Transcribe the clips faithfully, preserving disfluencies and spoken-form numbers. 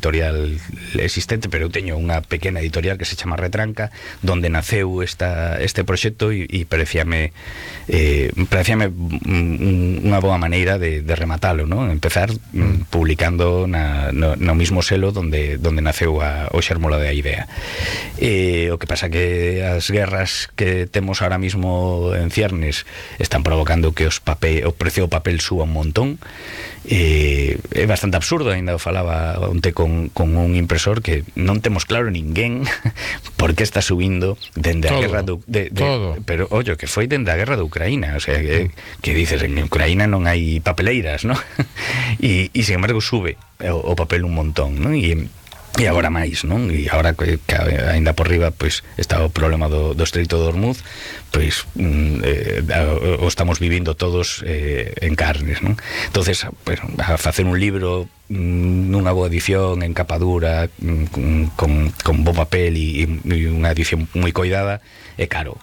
editorial existente, pero eu teño unha pequena editorial que se chama Retranca, donde naceu esta, este proxecto e, e parecíame eh, parecíame unha boa maneira de, de rematalo, ¿no? Empezar mm, publicando na, no, no mismo selo donde, donde naceu a, o xérmolo da idea. Eh, o que pasa que as guerras que temos ahora mismo en ciernes están provocando que os papel, o precio do papel suba un montón. Eh, é bastante absurdo, ainda falaba onte con, con un impresor que non temos claro ninguén por que está subindo dende a guerra do, de, de, pero ollo, que foi dende a guerra de Ucraína, o sea, que, que dices, en Ucraína non hai papeleiras, ¿no? e, e sin embargo sube o, o papel un montón, ¿no? E E agora máis, non? E agora que, que ainda por riba pois está o problema do, do Estreito de Hormuz, pois mm, eh, o estamos vivindo todos eh, en carnes, non? Entonces, pues, a facer un libro mm, nunha boa edición, en capa dura, mm, con, con bo papel e, e unha edición moi coidada, é caro.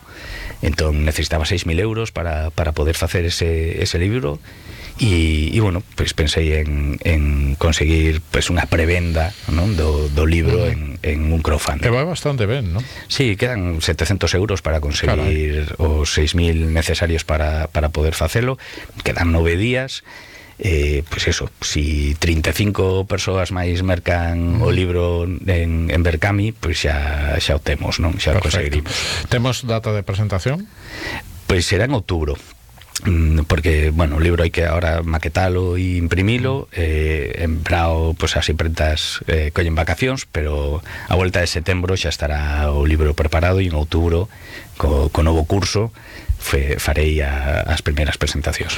Entón necesitaba seis mil euros para, para poder facer ese, ese libro. E, e bueno, pues pensei en, en conseguir pues unha prevenda, non? Do, do libro en, en un crowdfunding. Que va bastante ben, non? Sí, quedan setecientos euros para conseguir Carai. os seis mil necesarios para, para poder facelo. Quedan nove días. Eh, pues eso, si trinta e cinco persoas máis mercan mm. o libro en, en Berkami, pues xa, xa o temos, non? Xa o conseguirimos. Temos data de presentación? Pois será en outubro, porque, bueno, o libro hai que ahora maquetalo e imprimilo. eh, en Brao, pues as imprentas eh, collen vacacións, pero a volta de setembro xa estará o libro preparado e en outubro, co, co novo curso, Fe, farei a, as primeiras presentacións.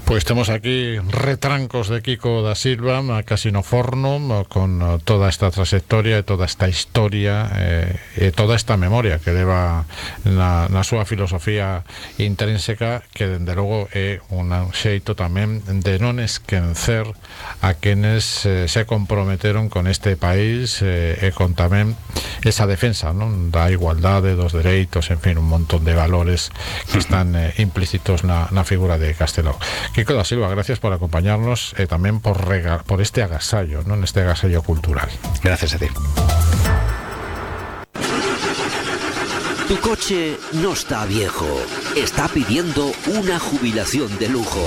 Pois temos aquí Retrancos de Quico da Silva, casi no forno, con toda esta trayectoria e toda esta historia eh, e toda esta memoria que leva na, na súa filosofía intrínseca, que dende logo é un xeito tamén de non esquecer a quenes eh, se comprometeron con este país eh, e con tamén esa defensa, non, da igualdade, dos dereitos, en fin, un montón de valores que están eh, implícitos na, na figura de Castelao. Quico da Silva, gracias por acompañarnos e eh, tamén por, rega, por este agasallo, non, este agasallo cultural. Gracias a ti. Tu coche no está viejo, está pidiendo una jubilación de lujo.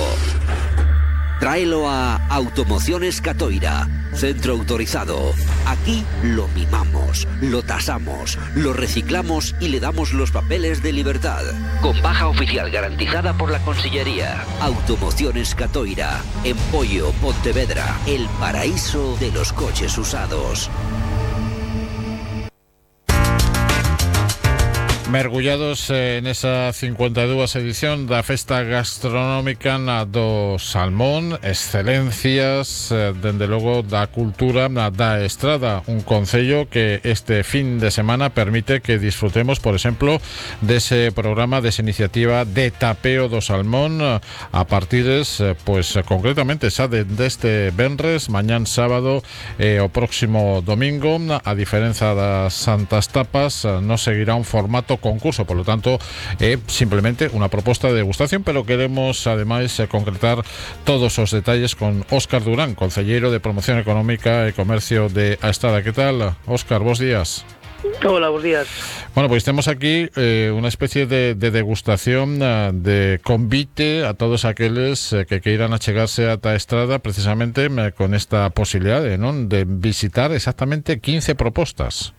Tráelo a Automociones Catoira, centro autorizado. Aquí lo mimamos, lo tasamos, lo reciclamos y le damos los papeles de libertad. Con baja oficial garantizada por la Consellería. Automociones Catoira, en Pollo, Pontevedra, el paraíso de los coches usados. Mergullados en esa cincuenta e dúas edición da Festa Gastronómica do Salmón, excelencias, dende logo da cultura da Estrada, un concello que este fin de semana permite que disfrutemos, por exemplo, dese programa, desa iniciativa de tapeo do salmón a partires, pois concretamente xa deste venres, mañán sábado e o próximo domingo. A diferenza das Santas Tapas, non seguirá un formato concurso, por lo tanto é simplemente unha proposta de degustación, pero queremos ademais concretar todos os detalles con Óscar Durán, concelleiro de Promoción Económica e Comercio de A Estrada. Que tal, Óscar? Bos días. Hola, bos días. Bueno, pois temos aquí eh, unha especie de, de degustación, uh, de convite a todos aqueles eh, que queiran achegarse ata a Estrada, precisamente eh, con esta posibilidade, non, de visitar exactamente quince propostas.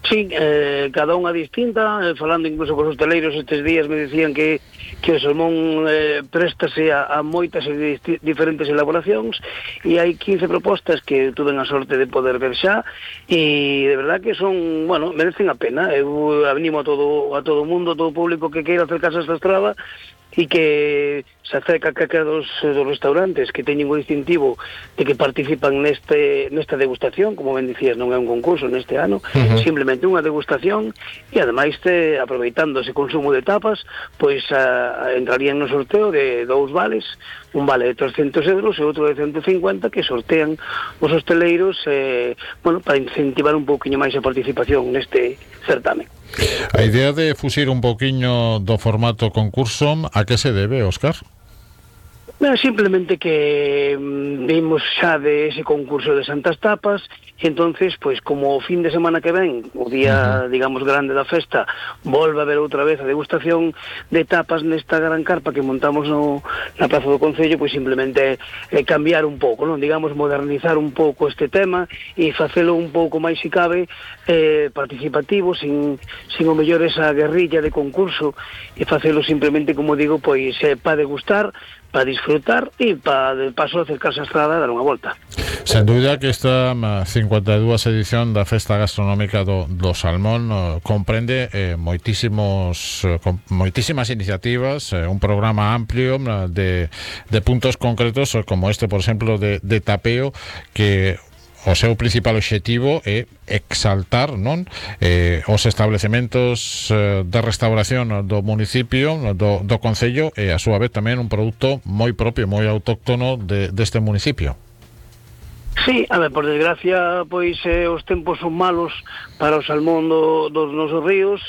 Sí, eh, cada unha distinta, eh, falando incluso con os hoteleiros estes días me decían que, que o salmón eh, préstase a, a moitas e di, diferentes elaboracións, e hai quince propostas que tuve a sorte de poder ver xa, e de verdad que son, bueno, merecen a pena. Eu animo a todo a todo o mundo, a todo o público que queira acercarse a esta estrada e que se acerca a calquera dos, dos restaurantes que teñen o distintivo de que participan neste nesta degustación, como ben dicías, non é un concurso neste ano, uh-huh. simplemente unha degustación, e ademais te, aproveitando ese consumo de tapas, pois a, a, entrarían no sorteo de dous vales, un vale de trescentos euros e outro de ciento cincuenta, que sortean os hosteleiros, eh, bueno, para incentivar un pouquiño máis a participación neste certamen. A idea de fusir un pouquiño do formato concurso, a que se debe, Óscar? Bueno, simplemente que mm, vimos xa de ese concurso de Santas Tapas e entonces, pois como o fin de semana que ven, o día, uh-huh. digamos, grande da festa, volve a ver outra vez a degustación de tapas nesta gran carpa que montamos no, na Praza do Concello, pois simplemente eh, cambiar un pouco, non, digamos, modernizar un pouco este tema e facelo un pouco máis, se cabe, eh, participativo, sin, sin o mellor esa guerrilla de concurso, e facelo simplemente, como digo, pois eh, para degustar, para disfrutar e para, de paso, acercarse á estrada e dar unha volta. Sen dúbida que esta cincuenta e dúas edición da Festa Gastronómica do, do Salmón eh, comprende eh, moitísimos eh, com, moitísimas iniciativas, eh, un programa amplio de, de puntos concretos, como este, por exemplo, de, de tapeo, que o seu principal obxectivo é exaltar, non, eh, os establecementos eh, de restauración do municipio, do, do concello, e a súa vez tamén un produto moi propio, moi autóctono de, deste municipio. Sí, a ver, por desgracia, pois eh, os tempos son malos para o salmón do, dos nosos ríos,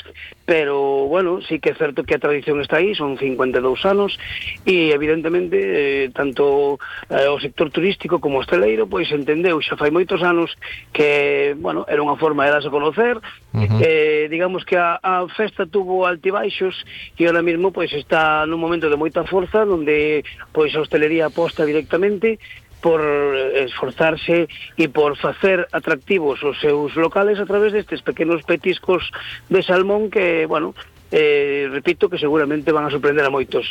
pero, bueno, sí que é certo que a tradición está aí, son cincuenta e dous anos, e, evidentemente, eh, tanto eh, o sector turístico como o hosteleiro, pois entendeu xa fai moitos anos que, bueno, era unha forma de darse a conocer, uh-huh. eh, digamos que a, a festa tuvo altibaixos, e ahora mesmo, pois, está nun momento de moita forza, onde, pois, a hostelería aposta directamente por esforzarse e por facer atractivos os seus locales a través destes pequenos petiscos de salmón que, bueno, eh, repito, que seguramente van a sorprender a moitos.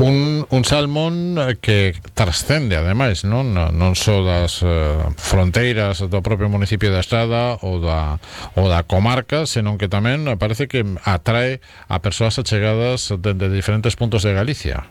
Un, un salmón que trascende, ademais, non, non só das uh, fronteiras do propio municipio da Estrada ou da, ou da comarca, senón que tamén parece que atrae a persoas achegadas dende diferentes puntos de Galicia.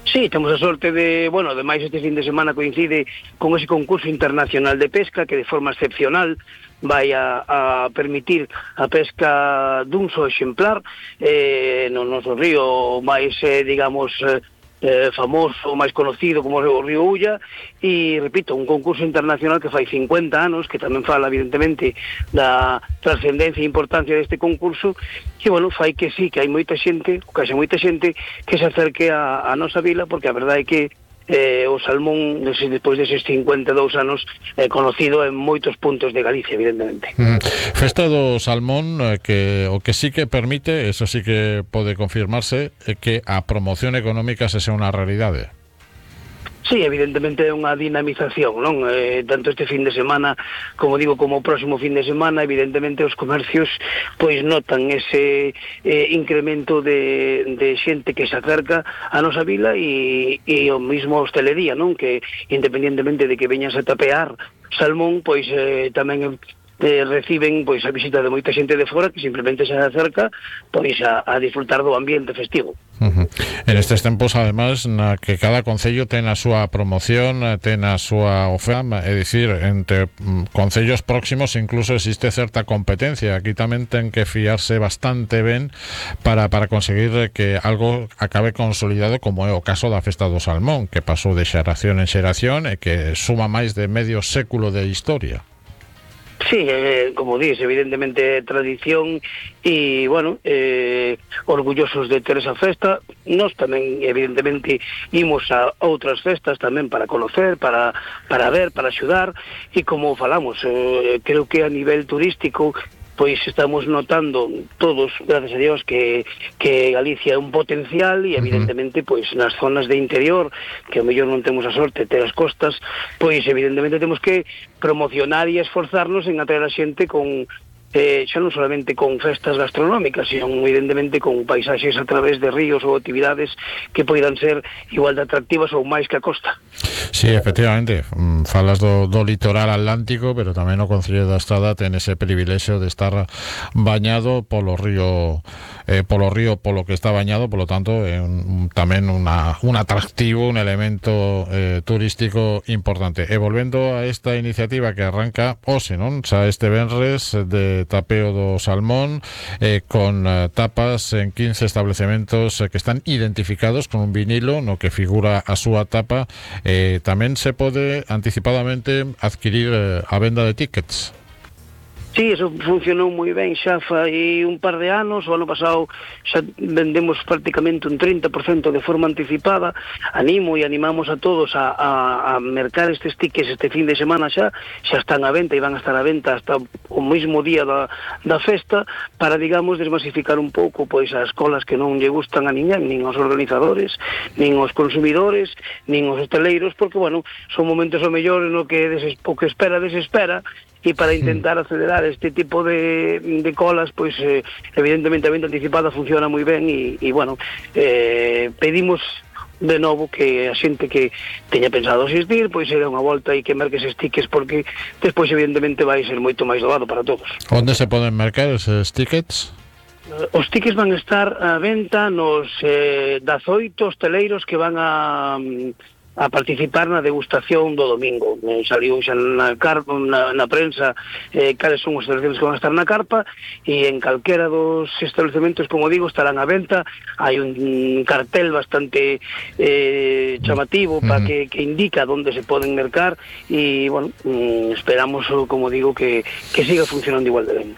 Sí, temos a sorte de, bueno, ademais este fin de semana coincide con ese concurso internacional de pesca que de forma excepcional vai a, a permitir a pesca dun só exemplar eh, no noso río máis, eh, digamos, eh, Eh, famoso, máis conocido como o Río Ulla, e, repito, un concurso internacional que fai cincuenta anos, que tamén fala, evidentemente, da trascendencia e importancia deste concurso, que, bueno, fai que sí, que hai moita xente, que hai moita xente que se acerque a, a nosa vila, porque a verdade é que eh, o salmón, despois deses cincuenta e dous anos, é eh, conocido en moitos puntos de Galicia, evidentemente. Mm. Festa do salmón, eh, que o que sí que permite, eso sí que pode confirmarse, é que a promoción económica se sea unha realidade. Sí, evidentemente é unha dinamización, non? Eh, tanto este fin de semana, como digo, como o próximo fin de semana, evidentemente os comercios pois notan ese eh, incremento de, de xente que se acerca a nosa vila e, e o mismo hostelería, non? Que independientemente de que veñas a tapear salmón, pois eh, tamén eh, reciben pois a visita de moita xente de fora que simplemente se acerca pois a, a disfrutar do ambiente festivo. Uh-huh. En estes tempos, además, na que cada concello ten a súa promoción, ten a súa oferta, é dicir, entre concellos próximos incluso existe certa competencia. Aquí tamén ten que fiarse bastante ben para, para conseguir que algo acabe consolidado, como é o caso da Festa do Salmón, que pasou de xeración en xeración e que suma máis de medio século de historia. Sí, eh, como dis, evidentemente tradición e, bueno, eh, orgullosos de ter esa festa. Nós tamén, evidentemente, imos a outras festas tamén para conocer, para, para ver, para axudar, e como falamos, eh, creo que a nivel turístico pois estamos notando todos, gracias a Dios, que, que Galicia é un potencial e evidentemente pois nas zonas de interior, que ao mellor non temos a sorte de ter as costas, pois evidentemente temos que promocionar e esforzarnos en atraer a xente con eh, xa non solamente con festas gastronómicas, sino evidentemente con paisaxes a través de ríos ou actividades que poidan ser igual de atractivas ou máis que a costa. Sí, efectivamente, falas do, do litoral atlántico, pero tamén o Concello da Estrada ten ese privilexio de estar bañado polo río eh, polo río polo que está bañado, polo tanto é un, tamén una, un atractivo, un elemento eh, turístico importante. E volvendo a esta iniciativa que arranca hoxe, non? Xa este venres de tapeo do salmón, eh, con eh, tapas en quince establecementos eh, que están identificados con un vinilo no que figura a súa tapa. Eh, tamén se pode anticipadamente adquirir eh, a venda de tickets. Sí, eso funcionou moi ben xa fai un par de anos. O ano pasado xa vendemos prácticamente un trinta por cento de forma anticipada. Animo e animamos a todos a, a, a mercar estes tickets este fin de semana xa, xa están a venta e van a estar a venta hasta o mesmo día da, da festa, para, digamos, desmasificar un pouco pois as escolas que non lle gustan a ninguén, nin aos organizadores, nin aos consumidores, nin aos hoteleiros, porque, bueno, son momentos o mellor no que deses, o que espera desespera, e para intentar acelerar este tipo de, de colas, pois eh, evidentemente a venta anticipada funciona moi ben e, e bueno, eh, pedimos de novo que a xente que teña pensado asistir, pois se dé unha volta e que merque eses tickets, porque despois evidentemente vai ser moito máis doado para todos. Onde se poden mercar eses tickets? Os tickets van a estar a venta nos eh, dezoito hosteleiros que van a... a participar na degustación do domingo. Eh, saliu xa na, carpa, na, na prensa eh, cales son os estabelecementos que van a estar na carpa, e en calquera dos establecementos, como digo, estarán a venta. Hai un cartel bastante eh, chamativo mm. para que, que indica onde se poden mercar, e, bueno, mm, esperamos, como digo, que, que siga funcionando igual de ben.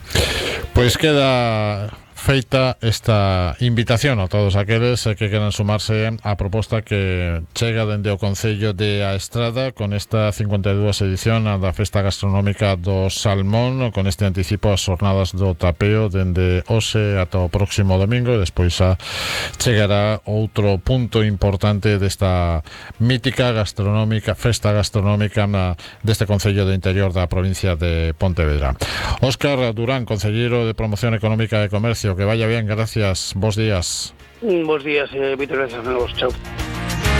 Pois queda feita esta invitación a todos aqueles que queran sumarse á proposta que chega dende o Concello de A Estrada con esta cincuenta e dúas edición da Festa Gastronómica do Salmón, con este anticipo ás jornadas do tapeo dende hoxe ata o próximo domingo, e despois xa chegará outro punto importante desta mítica gastronómica festa gastronómica na, deste Concello do Interior da provincia de Pontevedra. Óscar Durán, Concelleiro de Promoción Económica e Comercio, que vaya bien, gracias, bos días. Bos días, eh, Víctor, gracias a vos, chao.